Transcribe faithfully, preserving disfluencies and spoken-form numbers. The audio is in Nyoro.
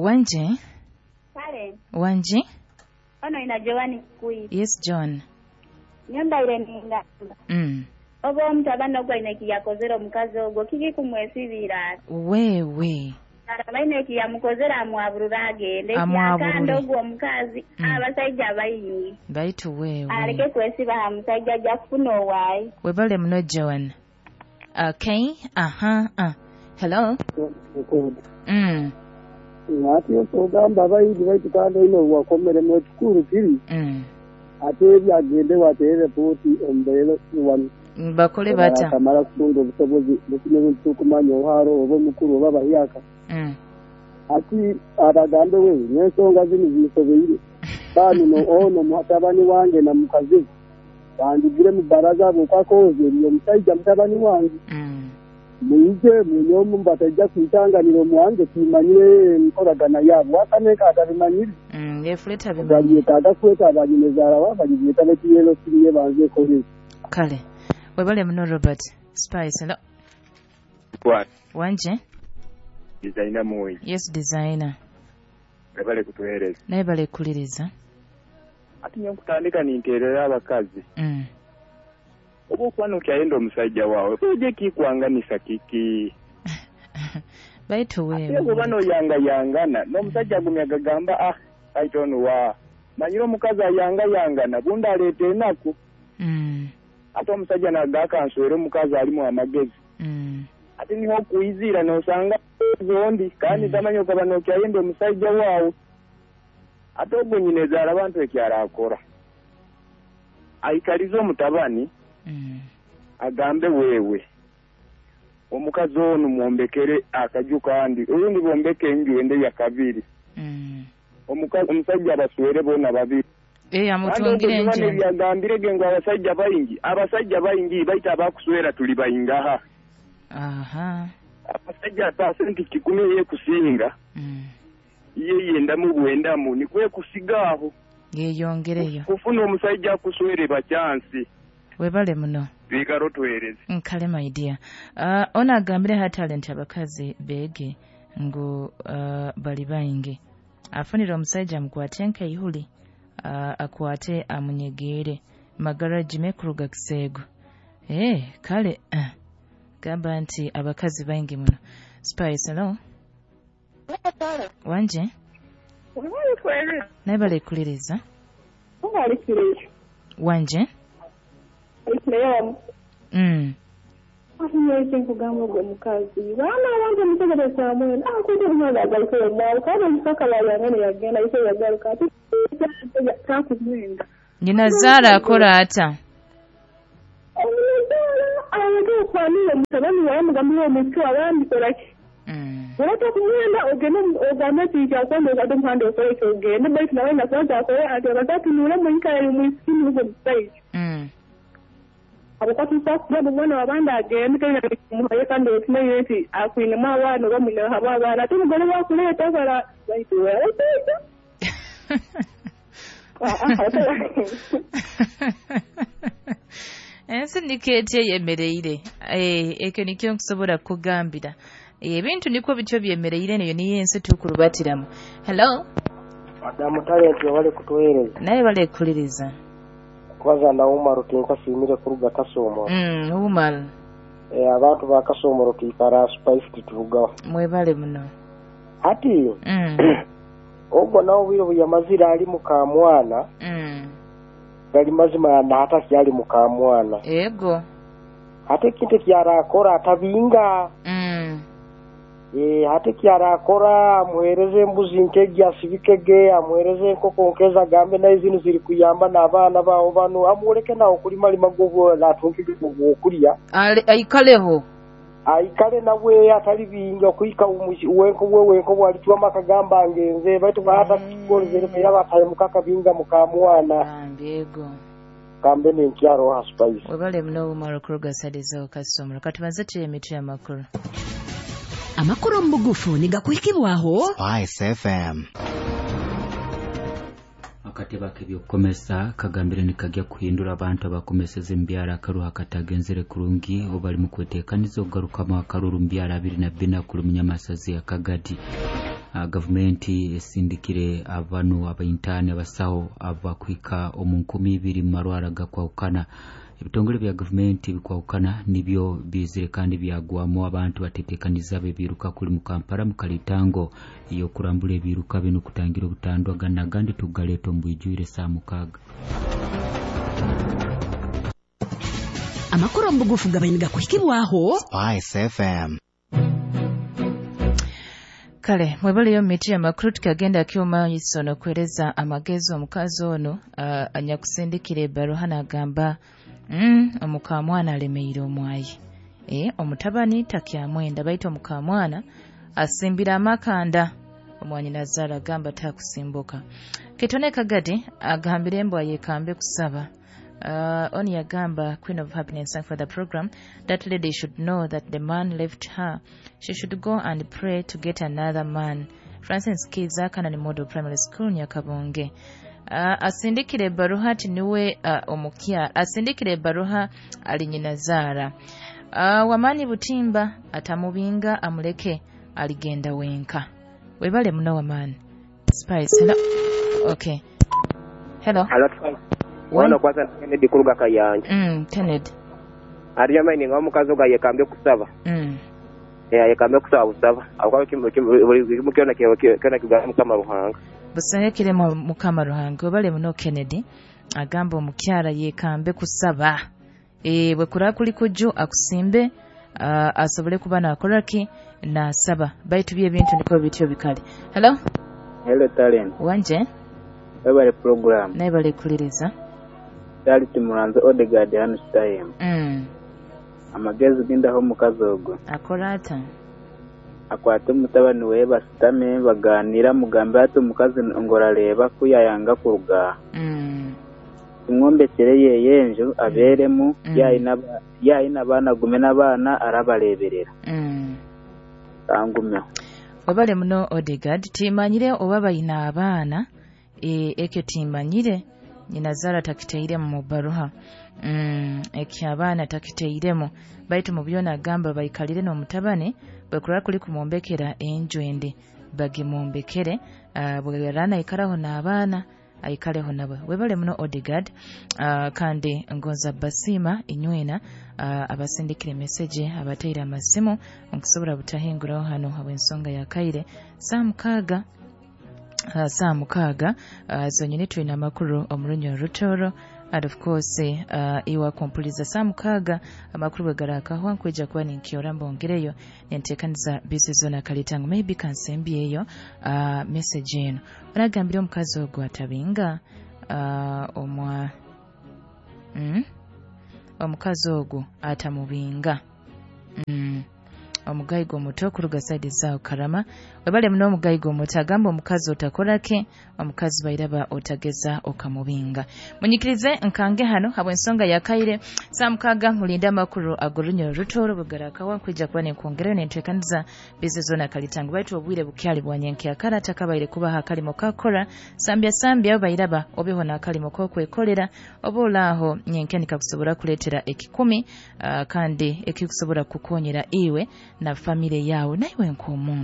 Wanje. Kale. Wanje. Ono ina Joani Kikuyi. Yes John. Nyumba ile ninga. Mm. Oba omutabani ogwo aine ekiyakozere omukazi ogwo kiki kumwesibira? Wewe. Abaine ekiyamukozere amwaburura agende. Amwaburure. Ogwo omukazi Mm. abasajja bayingi. Baitu wewe. Aleke kwesiba ha musajja ajja kufuna owaayi. Webale muno Joan. Okay. Aha. Uh. Hello. Mm. Ati ogamba abayindi baitu kandi oine wakomeremu ekikuru kiri. Mm. Ate ebyagende watere ripooti omubeere wano. Bakole bata. Akamara kutunga obusobozi bukine tukumanya oharo oba omukuru oba bahyaka. Mm. Ati abagambe we n'ensonga zino zinsobeire. Bano no ono mutabani wange na mukazi bandigire mu baraza bwokwakoze eriyo omusajja mutabani wange. Mm. Muije munyomu batajja kwitanganira omuwange kimanyire enkolagana yaabwe wakaneka atabimanyire. Mm, yefuleta bimanyi. Babyetaaga kweta abanyinezaala wa babyeta nekiyelo siriye banze ekole. Kale. Webale muno Robert. Spice. Hello. Kwa Wanje. designer muyi. Yes designer. Webale kutuhereza. Naye bale kuliriza. Ati nyo kutandika ninterera abakazi. Mm. Oba okuba okyayenda omusajja waawe oje kikwanganisa kiki. Baitu wewe. Ate oba noyangayangana n'omusajja agumya agagamba ah I don't know wa. Manyire omukazi ayangayangana bundi aleeta enaku. Mm. Ate omusajja nagakanswera omukazi alimu amagezi. Mm. Ate niho okuyizira nosanga zondi kandi tamanyi okaba nokyayenda omusajja waawe. Ate ogwo nyinezaala abantu ekyarakora. Aikalize omutabani. Mm. Agambe wewe omukazi ono mwombekere akaju kandi orundi bombeke enju ende ya kabiri. Mm. Omukazi omusajja abaswere bona babiri. Eh amutungire enju. Kandi yagambire ngu abasajja bayingi abasajja bayingi baita abakuswera tuli bayingaha. Aha. Abasajja pasenti kikumi ye kusinga. Mm. Ye yendamu bwendamu nikwe kusigaho. Yeyongereyo. Kufuna omusajja akuswere bachansi. Webale muno. Bikaro tuhereze. Nkale my dear. Uh, ona agambire ha talent abakazi bege ngu uh, bali bayingi. Afunira omusajja amukwate nkaihuli uh, akwate amunyegere magara jime kuruga kisego. Eh kale uh, gamba nti abakazi bayingi muno. Spice hello. Wanje. Naye bale kuliriza. Wanje. Mm. Afunye nkugamba ogwo mukazi baana abange omutegereza mwena akuite omwana agaluka omwawo kandi omusaka bayangane yagenda ise yagaluka ate takumwenda. Nyina zaala akola ata? Omunazaala aleke okwanira omutabani wawe mugambire omutu abandi kola ki? Olata kumwenda ogende ogambe nti kyakwenda okadde omuhanda okole kyogende baitu nawe nakubanza akole ati abatatunule muikale mwisikini ogwo musajja. Abakwatisa kugamba omwana wabandi agende kandi muhaye kandi otumanyire nti akwinemu abaana oba mwinehabo abaana ate omugole wakuleeta kola baitu abasajja. Ensi niko etya eyemereire. Ekyo nikyo nkusobola kukugambira. Ebintu nikwo bityo byemereire neyo niyo ensi tukurubatiramu. Hello. Madamu Talent wabale kutuhereza. Naye bale kuliriza. Kubaza na Umar tinkasimire kuruga Kasomoro. Mm, Umar. Eh abantu ba Kasomoro tuikara Spice titurugaho. Mwebale muno. Ati mm. Ogwo nawo bwire buyamazira ali muka mwana. Mm. Gali mazima na hata kyali muka mwana. Ego. Ate kintu kyarakora atabinga. Mm. Eh ate kyarakora amuhereze embuzi nkegi asibikege amuhereze enkoko nkeza gambe naye zino ziri kuyamba n'abaana bawo bano amuleke nawo kulima lima gwo natunkige okulya. Aikaleho. Aikale nawe atali binga kuika wenko we wenko bwalitwa makagamba ngenze baitu hata kukolezere yaba ataye mukaka binga mukamwana. Ambego. Kambe ni nkyaro ha Spice. Webale muno Umar kuruga sadizo Kasomoro. Katubanze tuye amakuru. Amakuru mu bugufu nigakuhikibwaho Spice F M. Akatebe k'ebyokukomesa kagambire nikajya kuhindura abantu abakomeseza embyara akaruha katagenzere kurungi obali mu kweteekaniza okugarukamu akaruru mbyara abiri na bina kuli munyamasazi ya Kagadi. uh, gavumenti esindikire abanu abaintani abasaho abakwika omu nkumi ibiri mu marwara gakwahukana. Ebitongole bya gavumenti bikwahukana nibyo bizire kandi byagwamu abantu batetekaniza bebiruka kuli mu Kampala mu Kalitango iyo kurambula ebiruka bino kutangira obutandwa ganagandi tugaleta ombwijwire saa mukaaga. Amakuru omubugufu gabainiga kuhikibwaho Spice F M. Kale mwebaleyo miti amakuru tukagenda kyoma isono kueleza amagezi omukazi ono uh, anyakusindikira ebbaluha n'agamba mm, omukamwana alemeire omwayi e, omutabani takyamwenda baitu omukamwana asimbira amakanda omwanyi nazaala agamba takusimbuka. Kitone Kagadi agambire embwa yekambe kusaba. Uh, oni yagamba Queen of Happiness, thank for the program. That lady should know that the man left her. She should go and pray to get another man. Francis Kiza Kanani Model Primary School Nyakabonge. Uh, asindikire baruha ati niwe uh, omukia asindikire baruha ali nyina. Uh, wamani Butimba atamubinga amuleke aligenda wenka. Webale muno wamani. Spice. Hello. Okay. Hello. Hello. Wano kwanza Kennedy kuruga Kayanja. Mm, Kennedy. Ariya maini nga omukazi ga yekambe kusaba. Mm. Eh yekambe kusaba busaba. Akwa kimu kimu kiona kiona kigamba Mukama Ruhanga. Busahekire Mukama Ruhanga. Obale muno Kennedy agamba omukyala yekambe kusaba. Eh bwe kura kuli kuju akusimbe uh, asobole kuba nakoraki na saba. Baitu bye bintu niko bityo bikali. Hello. Hello talent. Wanje. Webale program. Naibale kuliriza. Dali timuranze Odegaard hano time. Mm. Amagezi gindaho mukazi ogwo. Akora ata? Akwate mutabani we basitame baganira mugambe ati omukazi ngorareba kuyayanga kuruga. Mm. Tumwombekere yeyenjo aberemu mm. yayina yayina abana gume n'abana arabareberera. Mm. Tangume. Wabale muno Odegaard timanyire oba bayina abaana e ekyo timanyire nyina takiteiremu mu baruha. Mm, ekyo abaana takiteiremu baitu mu byona agamba bayikalire n'omutabani bwe kula kuli kumwombekera enju ende bagimwombekere uh, bwe yarana ikaraho n'abaana ayikaleho nabo. Webale muno Odegaard uh, kandi ngonza basima inywena uh, abasindikire message abateira amasimu nkusobola butahinguraho hano habw'ensonga ya kaire saa mukaaga. Uh, saa mukaaga uh, zonyini tulina amakuru omulunyo rutoro and of course uh, iwa kumpuliza saa mukaaga amakuru bwe garakahwa nkwija kuba ninkyora mbongereyo nenteekaniza bisi zona kalitango maybe kansembyeyo uh, message eno onagambire omukazi ogwo atabinga uh, omwa mm? omukazi ogwo atamubinga mm. Omugayigo omuto kuruga side zao Karama. Webale muno omugayigo omuto agamba omukazi otakorake omukazi bairaba otageza okamubinga. Munyikirize nkange hano habw'ensonga ya kaire saa mukaaga mulinda amakuru agorunyo rutoro bugaraka kwija kuba nenkwongereyo nenteekaniza bize zona kalitango baitu obwire bukyali bwanyenke akara takabaire kubaha akalimo kakora sambya sambya bairaba obeho n'akalimo kokwekolera oba olaaho nyenke nikakusobora kuleetera ekikumi uh, kandi ekikusobora kukonyera iwe na family yawe naiwe nk'omuntu.